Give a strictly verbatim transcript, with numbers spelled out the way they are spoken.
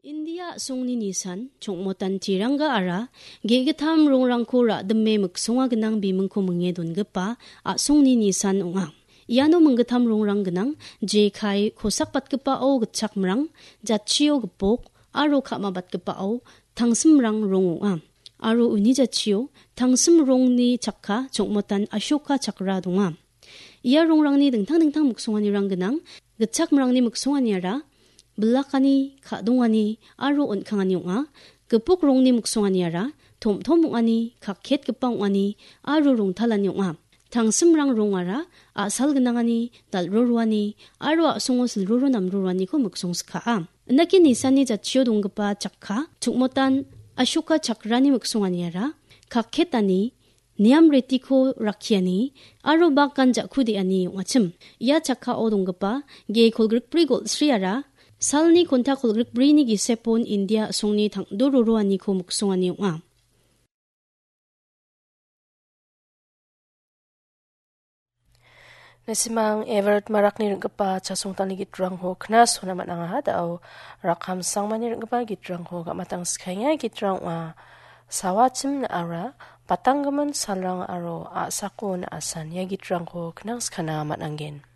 India a·songni nisan, chongmotan tiranga ara, ge·gittam rongrangko ra·dime miksonga gnang bimingko minge dongipa a·songni nisan ong·a. Iano minggittam rongrang gnang, jekai kosakbatgipao gitchakmrang, jatchio gipok, aro ka·mabatgipao tangsimrang rong ong·a. Aro uni jatchio tangsim rongni chakka chongmotan Ashoka chakra donga. Ia rongrangni dingtang dingtang miksonganirang gnang. Gitchakmrangni miksonganiara bilakani, ka·dongani aro on·kangani ong·a. Gipok rongni miksonganiara tom-tom ong·ani, kakketgipa ong·ani aro rongtalani ong·a. Tangsimrang rongara a·sal gnangani, dal·roroani aro a·songo silroro namroroaniko miksongsikaa. Indake nisanni jatchio donggipa chakka, chukmotan Ashoka chakrani miksonganiara kakketani, niam retiko rakkiani aro bagan ja·ku de·ani ong·achim. Ia chakkao donggipa ge kolgrikbri golsriara salni konta kolgrikbrini gisepon India a·songni tangdo roroaniko miksongani ong·a. Nasimang Everett Marakni ring·gipa chasongtangni gitrangko knasona man·angaha. Da·o Rakham Sangmani ring·gipa gitrangko gamatang skaenga. Gitrang ong·a Sawachim Na·ara, Batanggimin Salrang aro A·sako Na·asan. Ia gitrangko knang skana man·angen.